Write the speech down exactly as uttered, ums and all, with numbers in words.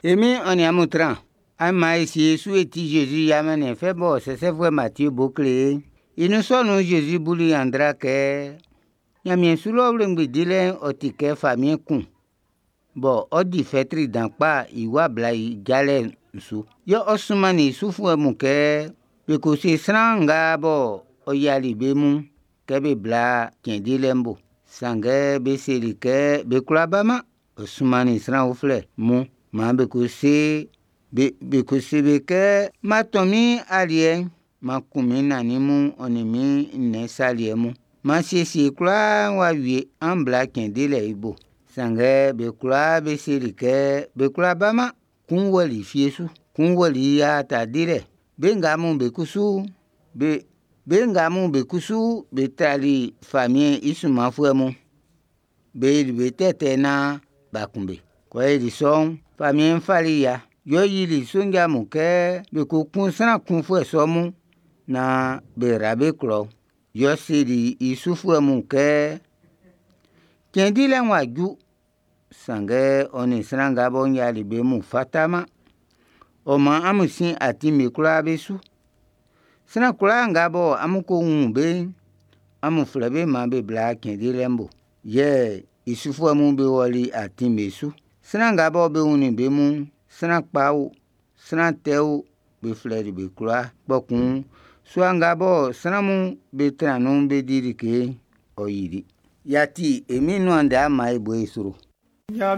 E Min'n ɔ nin amun tran. An man e sie e su e ti Jésus i amannien fɛ bɔ sɛsɛfuɛ Matie bo kle ye'n. I nun sɔ nun'n Jésus buli nyanndra kɛ: Nyanmiɛn su lɔ wlengbi dilɛ'n ɔ ti kɛ famiɛn kun bɔ ɔ di fɛtri dan kpa i wa bla i jalɛ'n su. Yɛ ɔ sunmannin i sufuɛ mun kɛ be ko se sran nga bɔ ɔ yiali be mun kɛ be bla cɛn dilɛ'n bo. Sanngɛ be seli kɛ be kwla ba-man. Ɔ sunmannin sran uflɛ mun man be ko se be, be ko se be kɛ, M'an tɔn min aliɛ'n, m'an kun min nannin mun ɔ nin min nnɛn saliɛ mun. M'an siesie i kwlaa w'a wie, an bla cɛn dilɛ'n i bo. Sanngɛ be kwlaa be seli kɛ be kwla ba-man. Kun wɔli fie su, kun wɔli i aata dilɛ. Be nga mun be kusu be, be nga mun be kusu be trali famiɛn'n i sunmanfuɛ mun. Be yili be tɛtɛ naan b'a kun be. Kɛ ɔ yoli sɔ'n, famiɛn'n fali ya. Yɛ ɔ yili sonja mun kɛ be ko kun sran kunfuɛ sɔ mun naan be yra be klɔ'n. Yɛ ɔ seli i sufuɛ mun kɛ, cɛn dilɛ'n w'a ju, sanngɛ ɔ nin sran nga bɔ n yiali be mun fataman. Ɔ maan amun sin atin'm be kwlaa be su. Sran kwlaa nga bɔ amun ko wun be'n, amun flɛ be maan be bla cɛn dilɛ'n bo. Yɛ i sufuɛ mun be wɔli atin'm be su. Sran nga bɔ be wunnin be mun'n, sran kpa o, sran tɛ o, be flɛli be kwlaa. Kpɔkun sua nga bɔ sran mun be tran nun be di like'n, ɔ yili. Y'a ti e Min'n nuan ndɛ, an man e bo i sro.